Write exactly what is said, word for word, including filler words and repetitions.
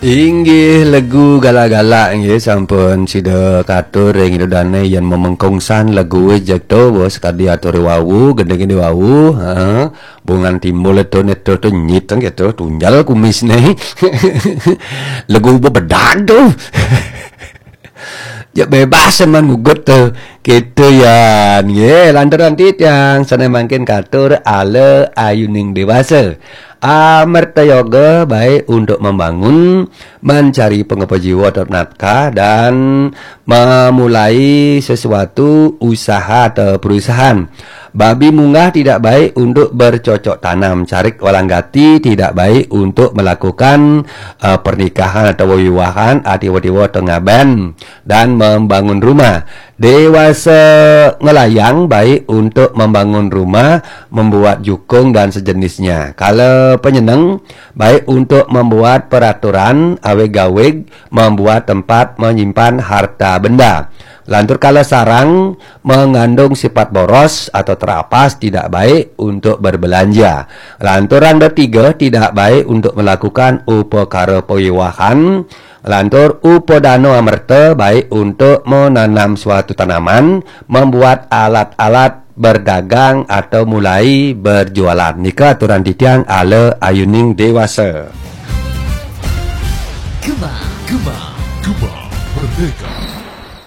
Inggih, legu galak-galak inggih sampun sida katur ring Ida Dane yen memengkungsan legu jek to, bos, kadi atur wau, gending di wau, ha. Bungan timbul to neto to nyit gitu, tunjal kumis ne. Legu bebedak to. Ya bebas man gugut to. Gitu ya. Nggih, lantaran titiang sane mangkin katur ala ayuning dewasa. Amerta yoga baik untuk membangun, mencari pengapa jiwa atau nafkah, dan memulai sesuatu usaha atau perusahaan. Babi munggah tidak baik untuk bercocok tanam. Carik walang gati tidak baik untuk melakukan uh, pernikahan atau wiwahan, ati watiwa atau ngaben dan membangun rumah. Dewasa ngelayang baik untuk membangun rumah, membuat jukung dan sejenisnya. Kala penyeneng baik untuk membuat peraturan awig-awig, membuat tempat menyimpan harta benda. Lantur kala sarang mengandung sifat boros atau terapas, tidak baik untuk berbelanja. Lantur randa tiga tidak baik untuk melakukan upakara pawiwahan. Lantur upadana amerta baik untuk menanam suatu tanaman, membuat alat-alat berdagang atau mulai berjualan. Nika aturan titiang ala ayuning dewasa. Gema, gema, gema, merdeka.